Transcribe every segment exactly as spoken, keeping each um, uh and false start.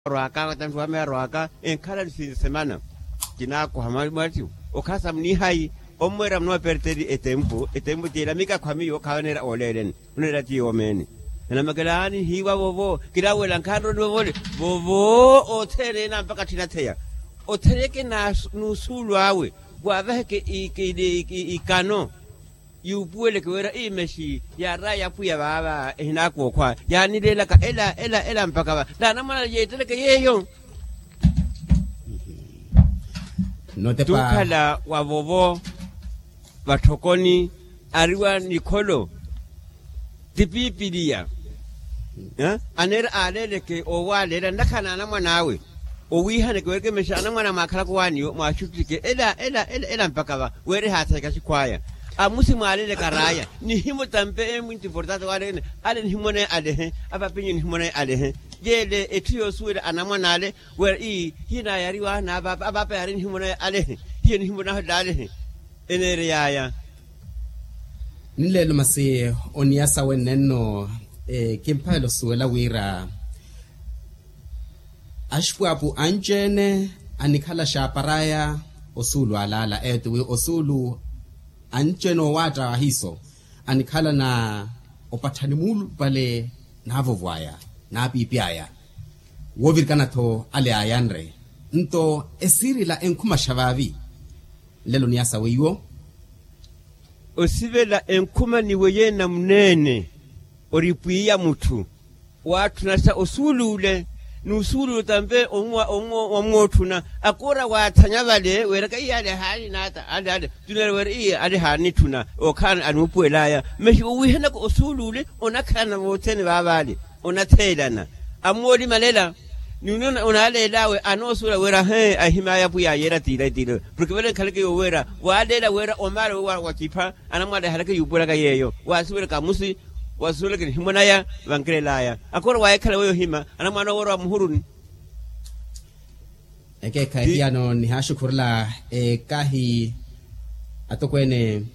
Arwaka watampi wa meya arwaka enkhala ni sinsemana. Kinaakoha mwatiwo okhasa munihayi ommweera munooperteli etempu etempu tiila mikakho a miyo khawaneera ooleeleni. Oneera ti yoomeene. Nanamakelaani hiiwa vovo. Kilawela nkhanroni vovole vovo. Othene ena mpaka tthinatheya otheyeke n'usuulu awe waavaheke ikano. Yuupuweleke wira iimexi yaaraya apwiya vaava ehinaakokhwa yaanileelaka ela ela ela mpaka va n'anamwana yeeteleke yeeyo. Tuukhala wa vovo vatthokoni ariwa nikholo ti pipiliya. Aneera aaleeleke owaaleela nnakhala n'anamwan'awe owiihaneke weekemexa anamwana mwaakhalaka owaaniwo mwaaxuttike ela ela ela mpaka va wira ehaathayaka xikhw'aya. Amusi mwaaleeleka raaya nihimo tampe emwinti importante waaleekene ale nihimonaye alehe apapinyu nihimonaye alehe. Yeele etthu yoosuwela anamwan'ale wira ii hiyo naayariwaha n'apaapa apaapa yaari nihimonaye alehe hiyo nihimonaho llaalehe. Eneerey'aya. Nleelo masi oniyasa wenne nno kimphalela osuwela wira axipwaapu anci-ene anikhala xaapar'aya osuulu alaala eto wi osuulu anci-ene oowaatta ahiiso anikhala na opatthani muulupale naavovo aya naapiipi aya woovirikana-tho ale aayanre nto esiirila enkhumaxa vaavi. Nlelo niyasa weiwo. Osivela enkhuma ni weiye namuneene ori pwiya mutthu waatthunasa osuuluule n'usuuluule otampe omwa omwa omwootthuna akoora waathanya vale weeraka iyaale haali naata ale ale. Tunere weera iye ale haanitthuna ookhala anuupuwel'aya masi owiihanaka osuuluule onakhalana vothene vaavaale. Onatheelana amoolimalela ni onaleel'awe anoosuwela wira he ahim'aya apwiya yeera tiila tiila porke vale nkhaleke yooweera waaleela wira omaale wowa wakipha anamwaale ahaleke yuupuwelaka yeeyo waasuwelaka amusi wasuwelaka nihimwan'aya vankelel'aya akoora waahikhala weyo ohima anamwaale oweera wa muhuruni. Ekeekhayi hiyano nihaaxukhurela ekahi atokweene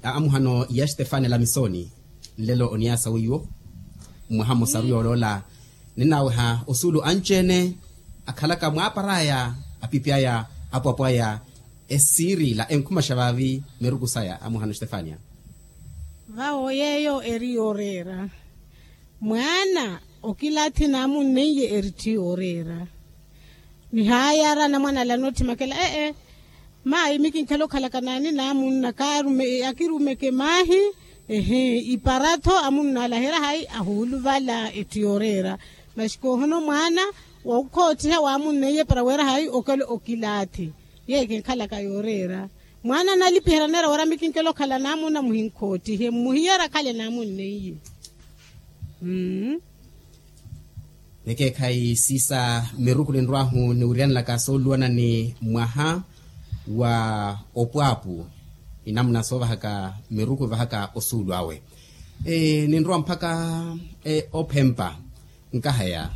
a amuhano ya stefani lamisoni. Nlelo oniyasa weiwo mwaha mmosa aruyooloola ninaaweha osuulu anci-ene akhalaka mwaapar'aya apipi aya apwapo aya esiirila enkhumaxa vaavi miruku saya amuhano stefania. Vawo yeeyo eri yooreera mwaana okilathi naamunneiye eritthi yooreera. Nihaayara anamwana ala anoothimakela ee maayi mikinkhala okhalaka naani naamunna kaarumeke akirumeke maahi. Ehe ipara-tho amunna ala aheera hayi ahuuluvala etthu yooreera. Masi koohono mwaana wookhoottiha waamunneiye para weera hayi okelo okilaathi. Yeeyo kinkhalaka yooreera mwaana analipiherya neera wira mikinkela okhala naamunna muhinkoottihe mmuhiyara akhale naamunneiye. Mmm. Nekeekhayi siisa miruku ninrw'ahu niwiryanelaka sooluwana ni mwaha wa opwaapu. Inamuna soovahaka miruku evahaka osuulu awe ninrwa mpakha ophempa. Nkahaya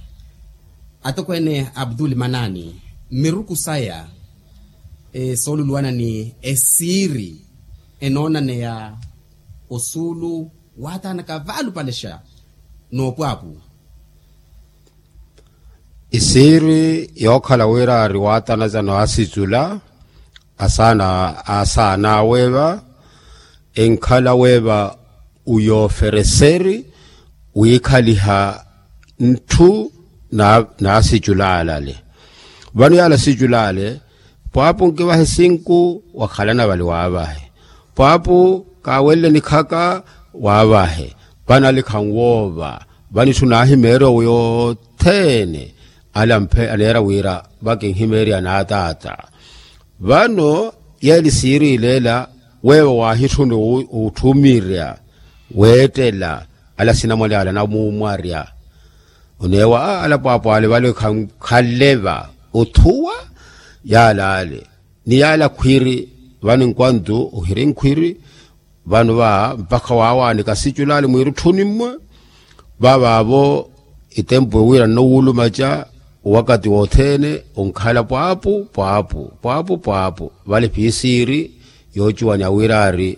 atokweene abdul manaani miruku saya sooluluwana ni esiiri enoonaneya osuulu waataanaka vaalupalexa. Noopwaapu isiiri yookhala wira ari waatanaza naasicula asaana asaana aweeva enkhala weeva uyoofereseri wiikhaliha ntthu naasiculaale ale. Vano yaala siculaale pwaapu nkivahe sinku wakhalana vale waavahe pwaapu kaawenle nikhaka waavahe vano alikha nwoova vano itthu naahimeerya owo yothene. Alampe aneera wira vakinhimeerya naataata vano yeeli siiriileela weewo waahitthuna otthumirya weettela ala sinamwali ala anamuumwarya. Oneewa ala pwaapwaale vale khanleva othuwa yaala ale ni yaala khwiiri vano enkwantu ohiri nkhwiiri vano va mpakha waawaanika siculaale mwiirutthuni mmwe. Vaavaavo etempu ewira nnowulumaca owakati wothene onkhala pwaapu pwaapu pwaapu pwaapu vale phiisiiri yoocuwani awira ari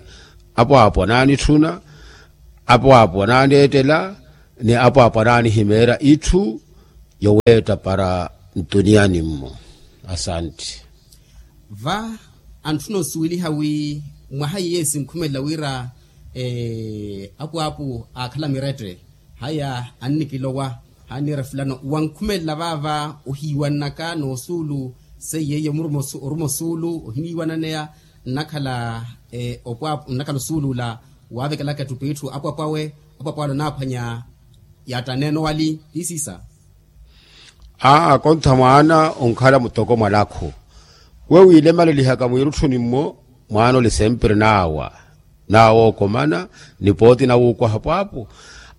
apwaapu anaanitthuna apwaapu anaaneettela ni apwaapu anaanihimeerya itthu. yoweetta para ntuniani-mmo. Asanti. Va antthuna osuweliha wi mwaha iye sinkhumelela wira apwaapu aakhala mirette haya annikilowa hanniira fulano wankhumelela vaava ohiiwannaka n'osuulu seiye iye omuruma osuulu oruma osuulu ohiniiwananeya nnakhala opwaapu nnakhala osuulu ola waavekelaka ettupeitthu apwapwawe apwapwawe anaphwanya yaattaneene owali ti siisa. Aa kontha mwaana onkhala mutoko mwa lakhu we wiilemalelihaka mwiirutthuni-mmo mwaana ole sempre naawa naawa ookomana ni pooti nawuukwaha pwaapu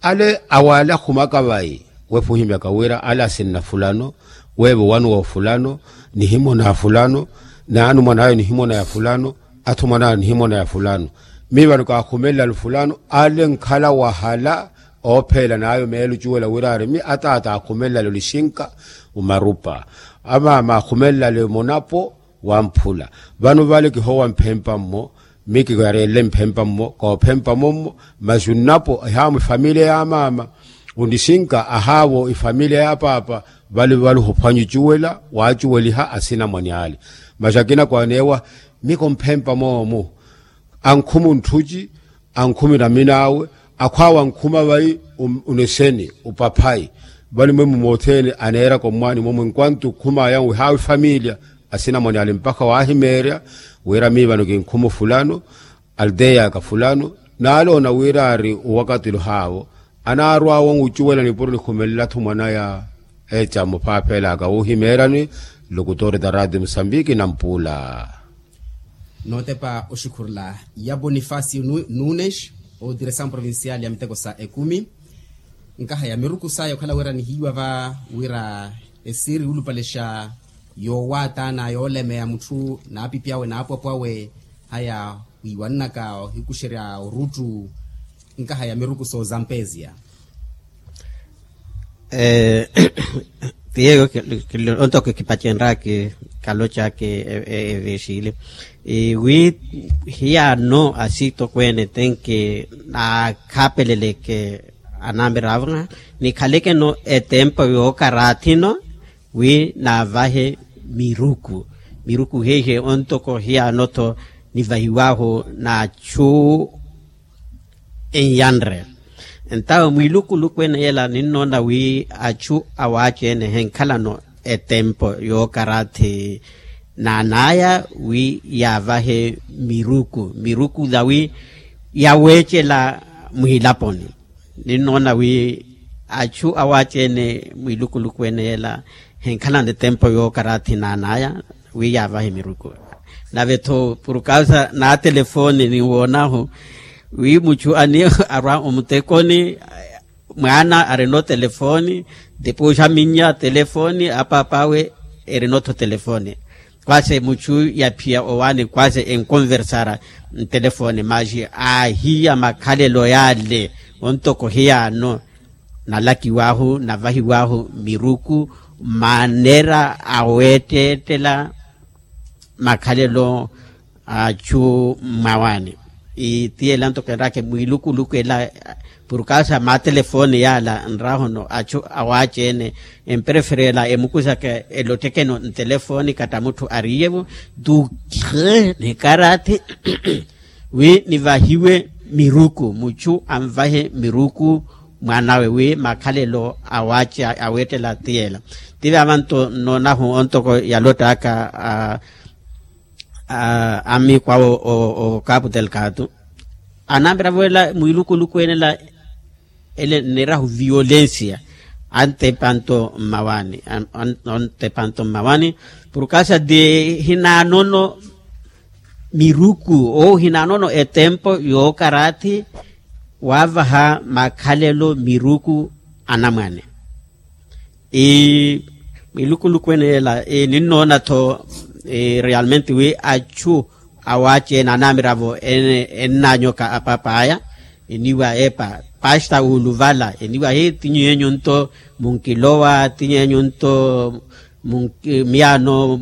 ale awaale akhumaka vayi weepa ohimyaka wira ale asinna fulano weevo wanu wa fulano nihimona ya fulano naani mwan'ayo nihimona ya fulano athu mwan'ayo nihimona ya fulano miivano kaakhumelelalu fulano ale nkhala wahala oopheela n'ayo meelo ocuwela wira ari mi ataata aakhumelelale olixinka omarupa amaama aakhumelelale monapo wamphula vano vale kihowa mphempa-mmo mi kiyareelle mphempa-mmo koophempa mommo masi onnapo ehaamo efamiliya ya maama onixinka ahaavo efamiliya ya paapa vale vale ohophwanya ocuwela waacuweliha asinamwane ale masi akina kwaneewa mi komphempa moomu ankhuma ontthuci ankhuma eramini awe akhwaawe ankhuma vayi oneseni opaphayi vale mwemmo mothene aneeraka ommwaani mwemmo enkwanto okhumaya wihaawa efamiliya asinamwane ale mpakha waahimeerya wira mii vano kinkhuma ofulano aldeya aka fulano naaloona wira ari owakatilo haavo anaarwaawo ocuwela nipuro nikhumelela-tho mwanaya eecamu phaapheelaka wuuhimeeryani lokutoori ta radio musambiki nampuula. Nootepa oxukhurula ya bonifacio nunes otiresamu provincial ya miteko sa ekumi nkaha ya miruku saya okhala wira nihiiwa va wira esiiri yulupalexa yoowaatana yoolemeya mutthu n'apipi awe n'apwapwa awe haya wiiwannaka ohikuxerya oruttu nkaha ya miruku soozampeziya. Tiyeyo ontoko kipacenraki kalocaki eveexili wi hiyaano asitokweene tenki naakhapeleleke anamira ava nikhaleke-no etempo yookarathi-no wi naavahe miruku miruku heihe ontoko hiyaano-tho nivahiwahu n'achu enyanre ntawe mwiilukuluku ene yela ninnoona wi achu awaaci-ene henkhalano etempo yookarathi naanaya wi yaavahe miruku miruku yawi yaweecela muhilaponi ninnoona wi achu awaaci-ene mwiilukuluku ene yela henkhalano etempo yookarathi naanaya wi yaavahe miruku nave-tho purukausa n'atelefoni ninwoonahu wi muchu ani arwa omutekoni mwaana arina otelefoni tipuuxa minnya telefoni apaap'awe erina-tho telefoni kwase muchu yaphiya owaani kwase enkonversara ntelefoni masi aahiya makhalelo yaale ontoko hiyaano nalakiw'ahu navahiw'ahu miruku maneera aweetteettela makhalelo achu mmawaani itiyela ntoko enrake mwiilukuluku ela purukasa matelefoni yaala nrahono achu awaaci-ene empereferela emukusaka elottekeno ntelefoni katta mutthu ariiyevo tukre nikarathi wi nivahiwe miruku muchu anvahe miruku mwaanawe wi makhalelo awaaci aweettela tiyela tive avanto nnoonahu ontoko yalottaka amiiku awo o capu telkatu anamperavo ela mwiilukuluku ene ela ele nneerahu violensia antepanto mmawani antepanto mmawani purukasa ti hinaanono miruku ou hinaanono etempo yookarathi waavaha makhalelo miruku anamwane mwiilukuluku ene ela ninnoona-tho realmente wi achu awaaci ene anamiravo ennanyoka apap'aya eniwa epa pasta uluvala eniwa hi ti nyuyenyu nto munkilowa ti nyuyenyu nto miyaano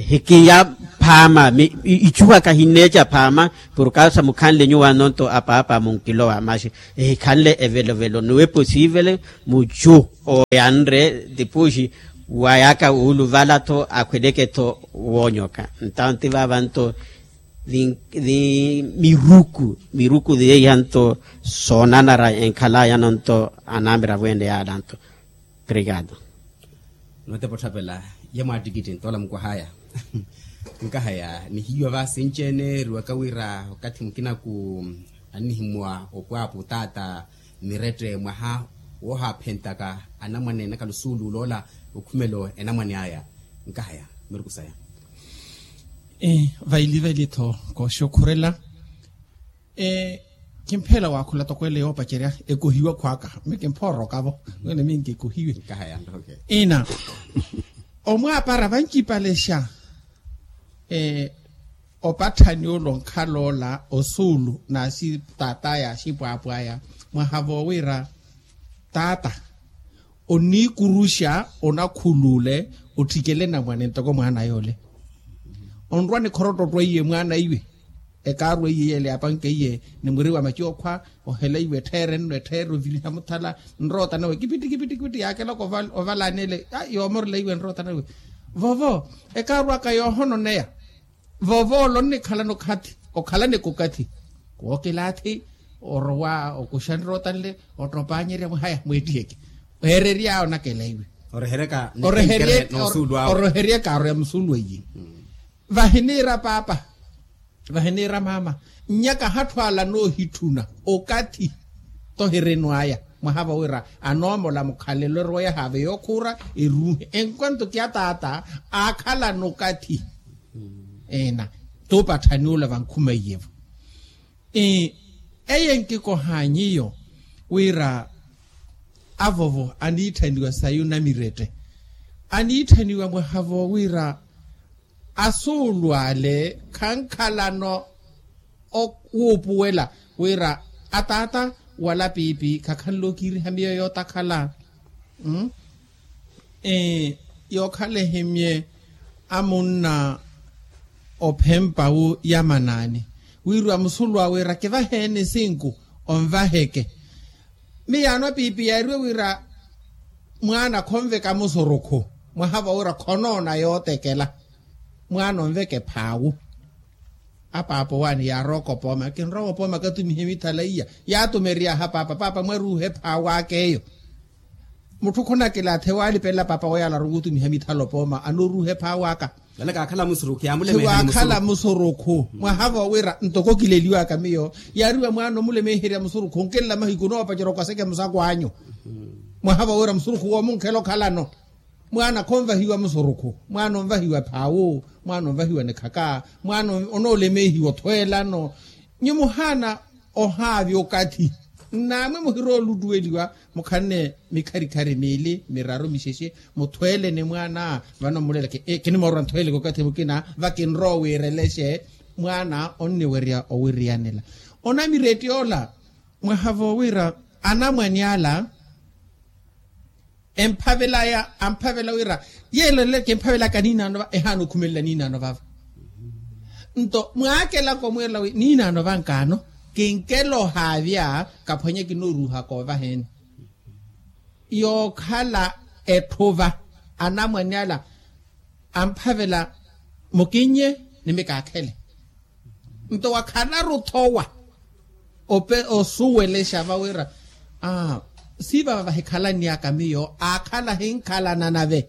hikiya phaama ichuwaka hinneeca phaama. Porkaasa mukhanle nyuwano nto apaapa munkilowa maxi ehikhanle evelovelo nuwe posivele muchu oyanre tipuxi wayaka wuluvala-tho akhweleke-tho woonyoka. Ntawo nti vaava nto ni miruku miruku zeiya nto soonanara enkhalayano nto anamiravo ene yaala nto. Obrigado. Notepa otthapela ye mwaattikitti ntoola mukwahaya. Nkahaya nihiiwa vaasinci-ene eriwaka wira okathi mukinaku annihimuwa opwaapu taata mirette mwaha woohaaphentaka anamwane nakalusuulu oloola okhumelo enamwane aya. Nkahaya miruku saya. Vaili vaili-tho kooxukhurela. Kimpheela waakhula toko ele yoopacerya ekohiwa khwaaka. Mikimphoorokavo wene minkikohiwe. Ina omwaapara vancipalexa opatthani ole onkhala ola osuulu n'axitaat'aya axipwaapw'aya mwaha voowira taata oniikuruxa onakhuluule otthikele namwane ntoko mwaana yoole. Onrwa nikhorotto ottweiye mwaana iwe ekaaru eiye yeele yaapankeiye ni mwiri wa maci okhwa ohela iwe etttheere nno etttheere oviriha muthala nroota nawe kipitti kipitti kipitti yaakelaka ovalaani ele. Yoomorela iwe nroota nawe vovo ekaaru aka yoohononeya. Vovo ole onnikhalana okathi okhalaneke okathi wookilaathi orowa okuxa nroota nle ottopaanyerya mwe haya mweettiheke. Eererya onakela iwe oreheryaka oroheryaka aro ya musuulu ayi. Vahiniira paapa vahiniira maama nnyaka ahatthu ala anoohitthuna okathi tohirenu aya mwaha vawira anoomola mukhalelo erowa yahaave yookhuura eruuhe enkwanto kya taata aakhalana okathi. Ena t'upatthani ola vankhumeiye-vo. Eye nkikohaanyi iyo wira avovo aniitthaniwa sayu namirette aniitthaniwa mwaha voowira asuulu ale khankhalano wuupuwela wira ataata wala piipi khakhanle okiiriha miyo yootakhala. Yookhala ehimye amunna ophempa wu yamanaani wiriwa musulu awe wira kivaheeni sinku onvaheke. Miyaano apiipi yaariwe wira mwaana khonveka musurukhu mwaha vawira khonoona yootekela mwaana onveke phaawu. Apaapa owaani yaarowa kopooma kinrowa kopooma katumihe mithala iya yaatumery'aha paapa paapa mwaruuhe phaawu aka eyo. Mutthu khunakilaathi waalipelela paapa weyala arukutumiha mithala opooma anooruuhe phaawu aka. Vale kaakhala musurukhu yaamulemeeherya musurukhu mwaha vowira ntoko kileliwaka miyo yaariwa mwaana omulemeeherya musurukhu nkilla mahiku onoopacerya okwaseke musakwaanyu. Mwaha vowira musurukhu woomunkhela okhalano mwaana khonvahiwa musurukhu mwaana onvahiwa phaawu mwaana onvahiwa nikhaka mwaana onoolemeehiwa othweelano. Nyu muhaana ohaavya okathi nnaamwe muhirowa oluttuweliwa mukhanne mikharikhari miili miraru mixexe muthweelene mwaana vano mmulela kinimoorwa nthweeleke okathi mukina vakinrowa wiirelexe. Mwaana onniwerya owiriyanela onamiretti ola mwaha vowira anamwane ala emphavelaya amphavela wira yeelolele kimphavelaka niinaano va ehaana okhumelela niinaano vava. Nto mwaakelaka omwiirela wi niinaano vankaano kinkela ohaavya kaphwanya kinooruuhaka ovaheeni. Yookhala etthuva anamwane ala amphavela mukinnye ni mikaakhele. Nto wakhalaru-tho owa osuwelexa vawira siivava vahikhalanny'aka miyo aakhala ahinkhalana nave.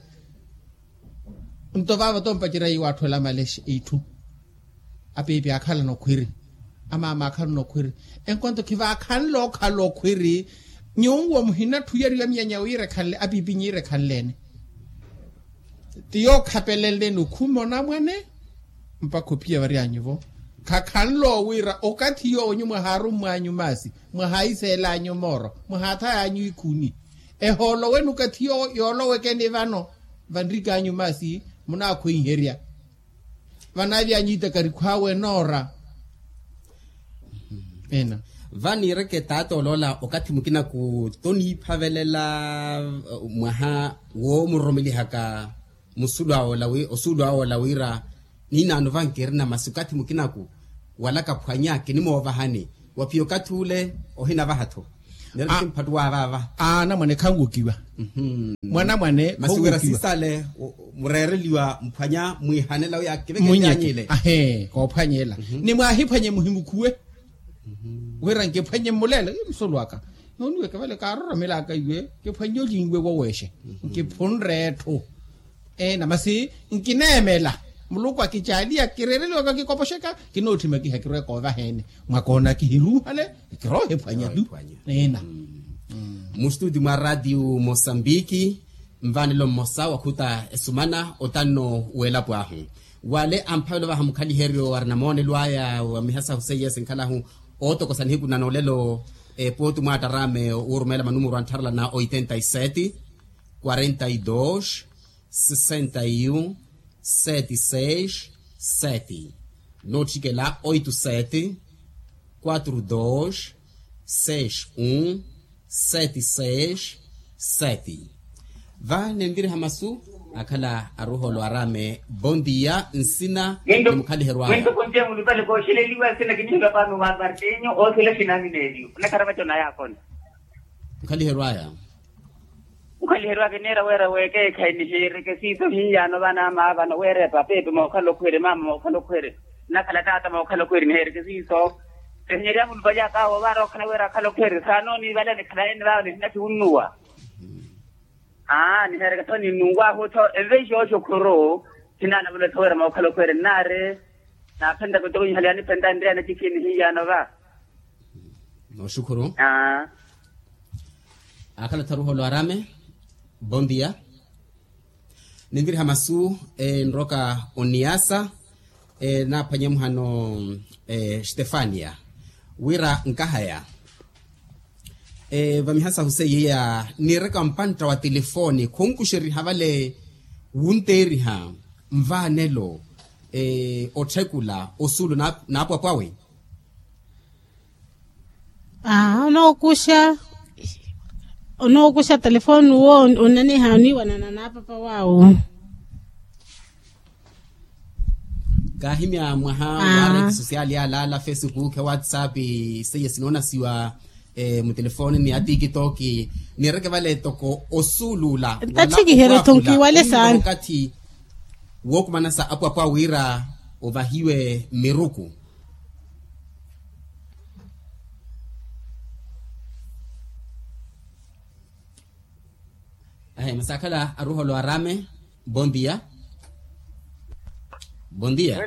Nto vava tompacerya iwaatthu elamale itthu apiipi aakhalana okhwiri amaama aakhalana okhwiri enkwanto khivaakhanle okhala okhwiri. Nyuwo muhinatthuyeriwa miyanya wiirekhanle apiipi nyiirekhanle-ene ti yookhapeleleni okhuma onamwane mpakha ophiya varyanyu-vo. Khakhanle owiira okathi yoowo nyu mwahaarummwanyu maasi mwahaayiseel'anyu mooro mwahaathay'anyu ikhuni ehoolowene okathi yoowo yoolowekeni vano vanrik'anyu maasi munaakhweiherya vanaavy'anyu itakarikhw'awe enoora. Ena vaniireke taata oloola okathi mukinaku toniiphavelela mwaha woomuromelihaka musuulu awe ola wira Ninaano vankirina masi okathi mukinaku wala kaphwanya kinimoovahani. Waphiya okathi ule ohinavaha-tho. Neri kimphattuwa vaava. Anamwane khanwokiwa. Mwanamwane masi wira sisale mureereliwa mphwanya mwihanela uya akiveke nyanyile. Ahe koophwanyela. Ni mwahiphwanye muhimukhuwe. Wira nkiphwanye mmuleele ii musulu aka. Nooniweke vale kaaroromelaka iwe nkiphwanye olinwe woweexe. Nkiphunre etthu. Eena masi nkineemela. Muluku akicaaliya kireereliwa vakikopoxeka. Kinootthima kiha kirwe koovaheene. Mwakoona kihiruuhale. Kiroohiphwanya tu. Eena. Mustutio mwa ratio mosambiki. Nvaanelo mmosa wakhuta esumana otanno w'elapo ahu. Wale amphavela ovaha mukhaliheryo arina moonelo aya wa mihasahu seiye sinkhalahu ootokosa nihiku na noolelo. Epuwo ti mwaattarame wuurumeela manumuru antharala na oitenta y sete, quarenta y dos, sessenta y um, sete seis, sete. Nootthikela oito sete, quatro dos, seis um, sete seis, sete. Va nenviriha masu akhala aruholo arame bondia nsina. Ni mukhaliherwaya. Mwinto kontia mulupale kooxeleliwa nsina kinihiwa pano wa martinho othela xinami neeliyo onakharava conaya akona. Mukhaliherwaya. Mukhaliherwaya kineera weera weekeekhayi nihiireke siiso hiyaano vanaama vano weera epapeepe mookhala okhweere maama mookhala okhweere. Nakhala taata mookhala okhweeri niheereke siiso. Ehinyerya mulupa lyaka awo vaara okhala weera akhala okhweeri saanooniivalani khalaeni vaavo nihinatthi wunnuwa. Aa niheereke tho ninnuwaahu tho enveixe oxukhuru. Sinaana vula tho weera mookhala okhweeri nnaari. Naaphenttaka otoko nihaliya niphenta nriyana cikhi nihiyaano va. Nooxukhuru. Aa. Akhala tharuholo arame. Bondia. Ninviriha masu enroka oniasa. Naaphwanye muhano stefania wira nkahaya. Vamihasahu seiya niireka mpantta wa tilifooni khunkuxeriha vale wunteeriha nvaanelo otthekula osuulu naapwapwawe. Aa onookuxa onookuxa telefoni uwo onaniha oniiwanana n'apapa waawo. Kaahimya mwaha wa reti sosiali yaalaala facebook whatsapp seiye sinoonasiwa mutelefoni ni atikitoki. Niireke vale toko osuuluula ntathikiheryo tho nkiwale saana okathi wookumanasa apwapwa wira ovahiwe mmiruku. Ahe masaakhala aruholo arame. Bondia. Bondia.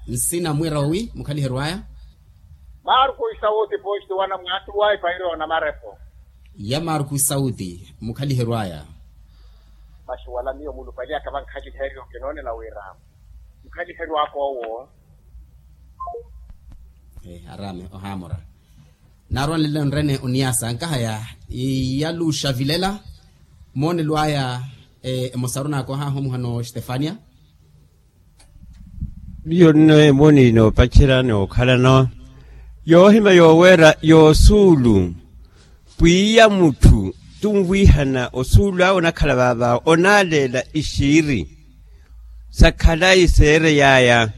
Nsina mwira owi mukhaliherwaya. Marku isauti posti wana mwaattuwa ipairo na marepo. Ya marku isauti mukhaliherwaya. Masi wala miyo mulupali aka vankhaliheryo kinoonela wira mukhaliheryo aka owo. Arame ohaamora. Naarwanlele onrene oniasa nkahaya iyaluxa vilela. Moonelo aya emosaru naakohahu muhano stefania. Miyo nno emooni noopacerya nookhalano yoohimya yooweera yoosuulu. Pwiya mutthu tunwiihana osuulu awe onakhala vaavaawo onaaleela ixiiri. Sakhalayi seerey'aya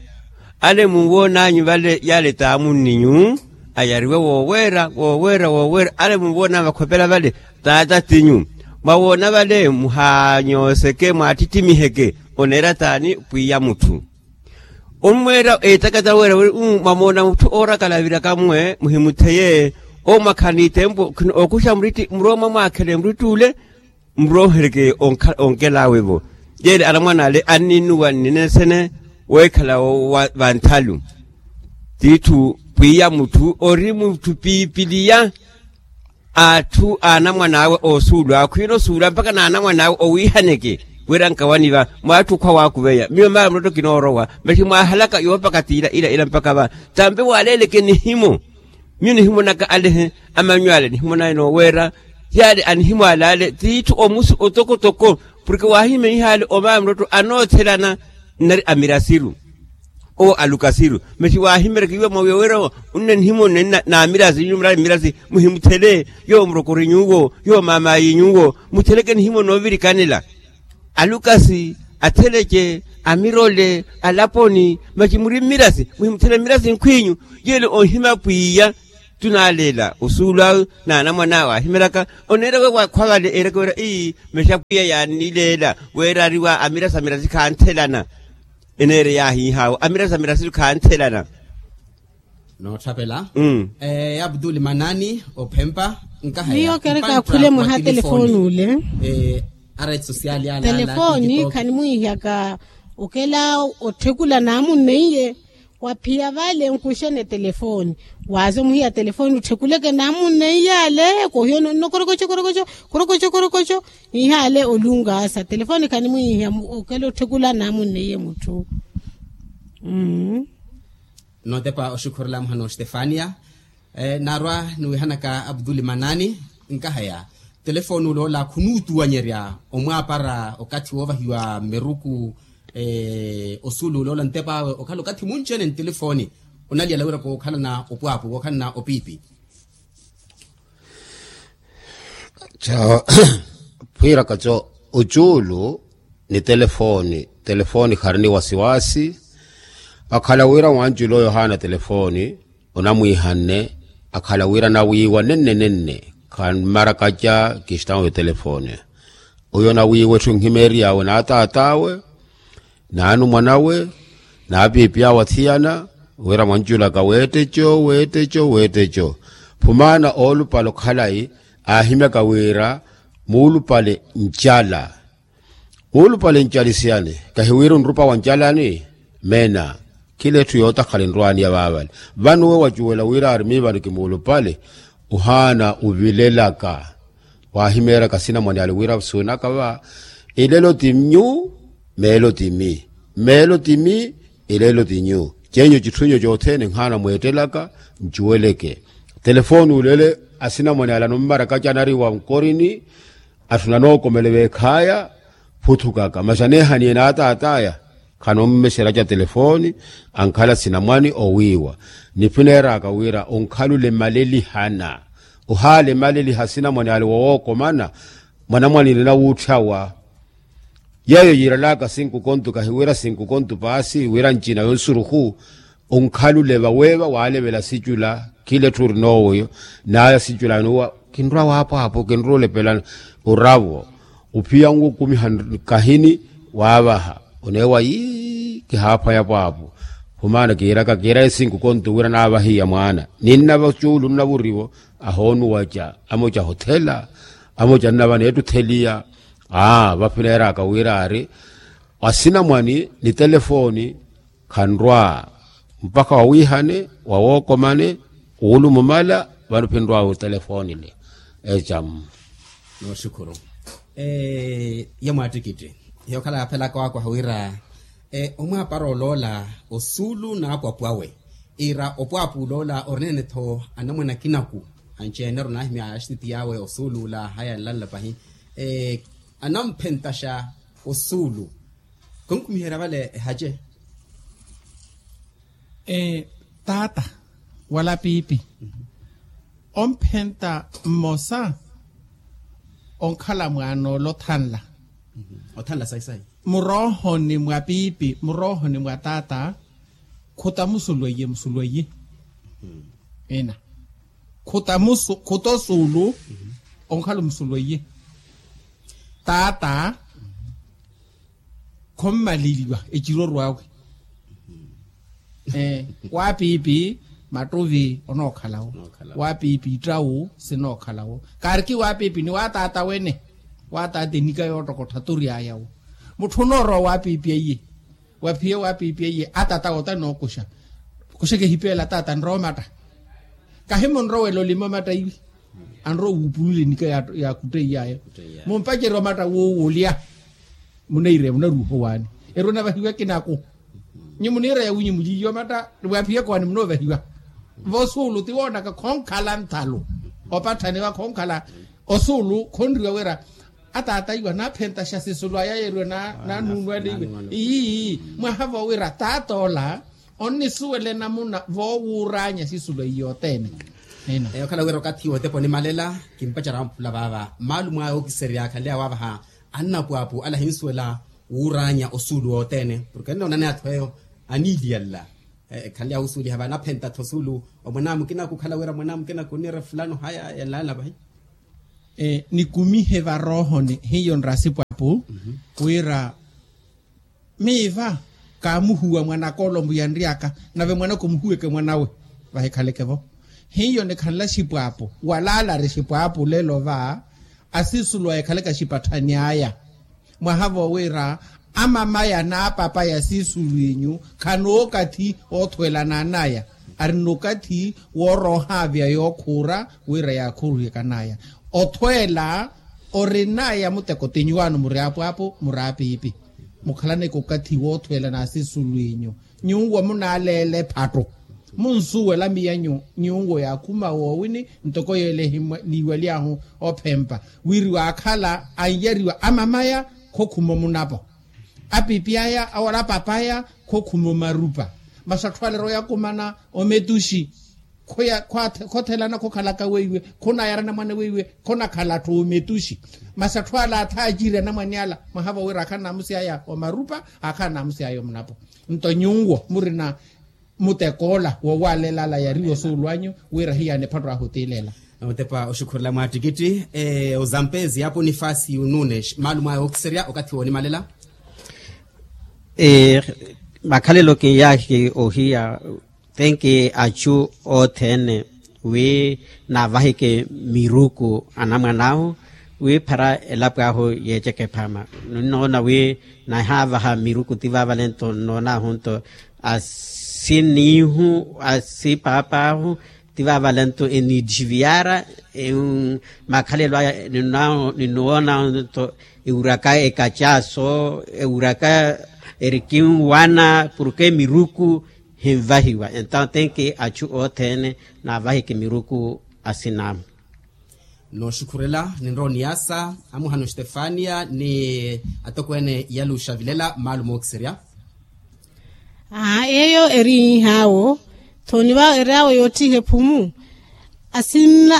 ale munwoon'anyu vale yale t'amunni'nyu ayariwe wooweera wooweera wooweera ale munwoon'anyu vakhopela vale t'atatinyu. Mwawoona vale muhaanyooseke mwaattittimiiheke oneera t'ani pwiya mutthu. Onmweera eetakata weera wiri uu mwamoona mutthu oorakala aviraka mmwe muhimutheye. Owo mwakhala n'itempo khina ookuxa muritti murooma mwaakhele muritti ule. Muroohereke onkel'awe-vo yeele anamwane ale anninnuwa nninensene weekhala vanthalu. Tiitthu pwiya mutthu ori mutthu piipiliya. Atthu a anamwan'awe oosuulu awe khwiina osuula mpakha n'anamwan'awe owiihaneke wira nkawani va mwaatthi okhwa waakuveya miyo maari mulotto kinoorowa. Masi mwaahalaka yoopaka tiila ila ila mpakha va tampe waaleeleke nihimo. Miyo nihimo naka alehe amanyu ale nihimo naye nooweera yaale anihimo ale ale tiitthu omusu otokotoko. Porke waahimeiha ale omaari mulotto anoothelana nnari amirasiru. Owo alukasiru masi waahimerekiwa mwawiya wira onne nihimo nnene n'amirasi nyuwo murari mmirasi muhimuthele. Yowo murokori nyuwo yowo maamaayi nyuwo mutheleke nihimo noovirikanela. Alukasi atheleke amirole alaponi masi muri mmirasi muhimuthela mmirasi nkhwinyu. Yelo onhima pwiya tunalela osuulu awe na anamwane awe ahimelaka oneera wewakhwa vale ereke wira ii mesa pwiya yaanilela weera ariwa amirasi amirasi khanthelana. Eneere yaahiihaawo amirasi amirasi khanthelana. Nootthapela. Abdul manani ophempa nkaha miyo kereka akhule mwaha telefoni ule. Areti sosiali ala telefoni khanimwiihaka okela otthekula naamunneiye waphiya vale nkuxene telefoni. Waaze omuhiya telefoni ottthekuleke naamunneiye ale kohiyo nonno korokocho korokocho korokocho korokocho. Ihaale olungaasa telefoni khanimwiihiya okela otthekula naamunneiye mutthu. Nootepa oxukhurela muhana ostefania. Naarwa niwihanaka abduli manani nkahaya telefoni oloola khunuutuwanyerya omwaapara okathi woovahiwa mmeruku. Osuulu oloola ntep'awe okhala okathi munci-ene ntelefoni onaliyala wira kookhalana opwaapu kookhalana opiipi. Ca phwiiraka co ocuulu ni telefoni telefoni khari ni wasiwasi. Akhala wira wanculo yohana telefoni onamwiihanne akhala wira nawiiwa nenne nenne khanmarakaca kistão yo telefoni. Oyo nawiiwa etthu nkhimeriyawe na taatawe naanumwanawe naapiipi awe athiyana wira mwanculaka weetteco weetteco weetteco. Phumaana oolupale okhalayi aahimyaka wira muulupale ncala muulupale ncalisiyani kahiwira onrupa wa ncalani. Meena khila etthu yootakhala enrwaaniya vaavale vano we wacuwela wira aari miivano kimuulupale ohaana ovilelaka. Waahimeeraka sinamwane ale wira suunaka va elelo ti nyu meelo ti mi meelo ti mi elelo ti nyu. Ceenyu citthu nyu cothene nhaana mweettelaka ncuweleke telefoni ulele asinamwane ale anummaraka canariwa nkorini. Atthu nanookomele veekhaya phuthukaka masi aneehaniye n'ataat'aya khanommexera ca telefoni ankhala sinamwani owiiwa. Niphineeraka wira onkhalule malelihana ohaale maleliha sinamwani ale wowookomana mwanamwani nina wuutthawa. Yeeyo yiiralaka sinku kontu kahiwira sinku kontu paasi wira ncina yonsuruhu. Onkhalule vaweeva waalevela sicula khila etthu ori noowo iyo n'aya sicula anuwa kinrwa waapwaapo kinrwa olepelana oravo ophiya nwo okumiha kahini waavaha oneewa yii kihaaphwaya pwaapo. Khumaana kiiraka kiiraye sinku kontu wira naavahiya mwaana ninna vacuulu nnavurivo ahoonuwaca amoca ahothela amoca nnava neettutheliya. Aa vaphineeraka wira aari asinamwani ni telefoni khanrwa mpakha wawiihane wawookomane wuulumumala vano phinrwa wutelefoni le. Ecamu nooxukhuru ye mwaattikitti yookhala yaaphelaka waakwaha wira omwaapara oloola osuulu n'apwapu awe iira opwaapu oloola orinene-tho anamwane akinaku anci-ene ori onaahimya axititi yaawe osuulu ula haya nlanla pahi anamphentaxa osuulu. Khonkhumiherya vale ehace taata wala piipi omphenta mmosa onkhala mwaana ole othanla othanla sayi sayi muroohoni mwa piipi muroohoni mwa taata. Khuta musulweiye musulweiye ina khuta musu khuta osuulu onkhala omusulweiye taata khommaliliwa ecirorw'awe. Waapiipi mattuvi onookhalawo waapiipi ittawu sinookhalawo kaariki waapiipi ni waataata wene. Waataata enika yoottokottha tury'aya wo mutthu onoorowa waapiipi aiye waphiye waapiipi aiye ataata wootta nookuxa kuxeke ehipeela ataata anrowa omatta kahi munrowela olima omatta iwi anrowa wuupulula enika yaakutteiyayo mumpacerya omatta wuuwulya. Munaireya munaruuha owaani erwe navahiwa ekinaku nyi muniireya winyi muliiye omatta ni waaphiyaka owaani munoovahiwa. Vosuulu ti woonaka khonkhala nthalu opatthaniwa khonkhala osuulu khonriwa wira ataata iwa naaphentaxa sisulu aya yeeriwe nanuunwaliwe. Ii mwaha vowira taata ola onnisuwela enamuna voowuuraanya sisulu eyi yothene. Okhala wira okathi wootepa onimalela kimpacerya wamphula vaava mmaalumo aya ookiserya akhanle awaavaha annapwaapu ala ahinsuwela Wuuraanya osuulu wothene porke nnoonani atthu eyo aniiliyalla. Ekhanle awusuuliha vanaphenta-tho osuulu omwanamukina kukhala wira mwanamukina kuniira fulano haya yalaala vahi. Nikumihe varoohoni hiyo nrasipo apu wira miiva kaamuhuwa mwanaka olo mbu yanry'aka nave mwanaka omuhuweke mwanawe vahikhaleke-vo. Hiyo nikhanla xipwaapo wala alari xipwaapo olelo va asisulu ekhaleke axipatthani aya. Mwaha vowira amamaya n'apapaya asisulu enyu khana okathi othwelananaya arina okathi wooroohaavya yookhuura wira yaakhuruhekanaya. Othweela orinaya muteko ti nyuwaano muri apwaapo muri apiipi. Mukhalaneke okathi woothweela n'asisulu enyu nyuwo munaleela ephatto munsuwela miyanyu nyuwo yaakhuma woowini ntoko yeelehi niiwaly'ahu ophempa wiri waakhala anyariwa amamaya khokhuma omunapo apiipi aya awala apapaya khokhuma omarupa masi atthu ale royakumana ometuxi khothelana khokhalaka weiwe khonayara anamwane weiwe khonakhala atthu ometuxi. Masi atthu ala athaaciri anamwane ala mwaha vowira akhana namusi aya omarupa akhana namusi aya omunapo nto nyuwo murina mutekoola wowaleelala yariwa osuulu anyu wira hiyaani ephatto ahu otiileela. Otepa oxukhurela mwaattikitthi ozampezi ya ponifasi nunes maalumo aya ookiserya okathi woonimalela. Makhalelo kinyahi ohiya tenki achu othene wi navahike miruku anamwan'ahu wi phara elapo ahu yeecheke ephama. Ninoona wi nahavaha miruku ti vavalento nnoonahu nto asinihu asipapaahu ti vavalento eniitthiviyara makhalelo aya. Ninoona nto ewuraka ekacaaso ewuraka erikinwana porke miruku hinvahiwa entawo tenki achu othene navahike miruku asin'amu. Nooxukhurela ninrowa oniyaasa amuhana ostefania ni atokweene yaluxa vilela maalumo ookiserya. Aa eyo eri iihaawo thooni va eri awo yoottiha ephumu.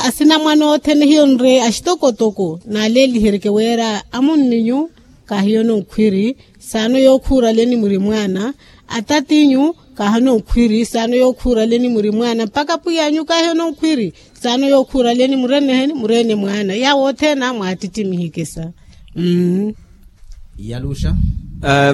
Asinamwane othene hiyo nre axitokotoko naaleeliherike wira amunninyu kahiyo nonkhwiri saano yookhuuraleni muri mwaana. Atatinyu kaahano nkhwiri saano yookhuuraleni muri mwaana mpakha pwiy'anyu kaahano nkhwiri saano yookhuuraleni murene murene mwaana yawo othene amwaattittimihe kisa. Mmm. Yaluxa.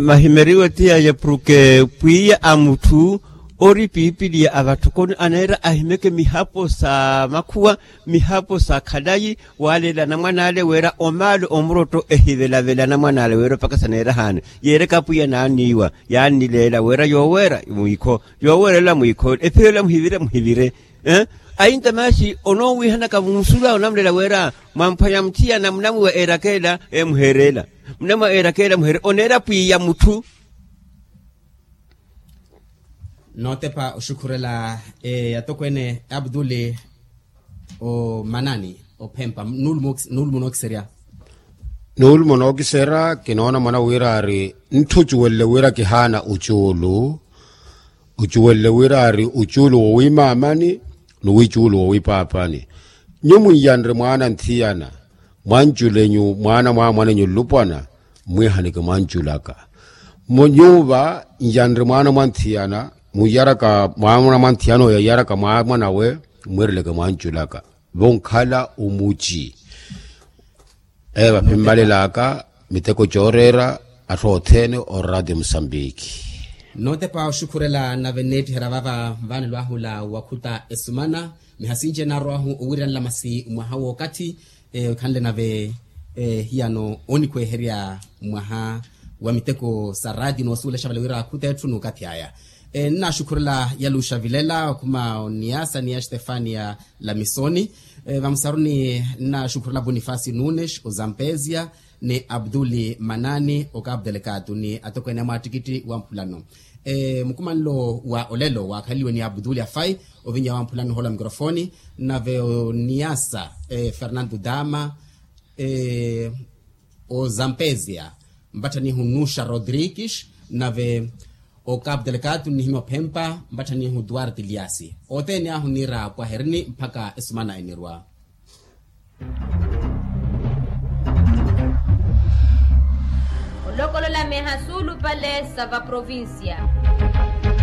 Mahimeriwe ti yaya porke pwiya a mutthu ori piipiliya a vatthokoni aneera ahimeke mihapo sa makhuwa mihapo sa khalayi waleela anamwan'ale wira omaale omurotto ehivelavela anamwan'ale wira opakasa neera haana yeereka apwiya naanniiwa yaannileela wira yooweera mwiikho yooweerela mwiikho ephiro ela muhivire muhivire. Ainta maaxi onoowiihanaka munsula onamulela wira mwamphwanya muthiyana munamwiwa eerakeela emuheereela munamwiwa eerakeela muheereela oneera pwiya mutthu. Nootepa oxukhurela atokweene abduli omanani ophempa nuulumo nookiserya. Nuulumo nookiserya kinoona mwana wira ari ntthu ocuwelele wira kihaana ocuulu ocuwelele wira ari ocuulu wowiimaamani nowiicuulu wowiipaapani. Nyuwo munyanre mwaana nthiyana mwanculenyu mwaana mwaamwanenyu nlupwana mmwiihanike mwanculaka. Nyuwo va nyanre mwaana mwa nthiyana munyaraka mwaana mwa nthiyana oyo anyaraka mwaamwanawe mmwiireleke mwanculaka vonkhala omuci. Eyo vaphimmalelaka miteko cooreera atthu othene oraati musambiki. Nootepa oxukhurela nave nneettiherya vava vaanelo ahula wakhuta esumana mihasinci enaarowahu owiiranela masi mwaha wookathi. Ekhanle nave hiyano onikhweherya mwaha wa miteko sa raati noosuwela exavala wira akhuta etthu n'ukathi aya. Nnaxukhurela yaluxa vilela okhuma oniyaasa ni ya stefania lamisoni. Vamusaruni nnaxukhurela bonifasi nunes ozampezia ni abduli manani okapu delekatu ni atokweene a mwaattikitthi wa mphulano. Mukumanlo wa olelo waakhaleliwe ni abduli afai ovinya wa mphulano ohola mikrofoni nave oniyaasa fernando dama ozampezia mpatthanihu nuxa rodrigues nave okapu delekatu nnihimya ophempa mpatthanihu duarte liasi. Othene ahu niira pwaherini mpakha esumana enirwa. Lokolola meha suulupale sa vaprovincia.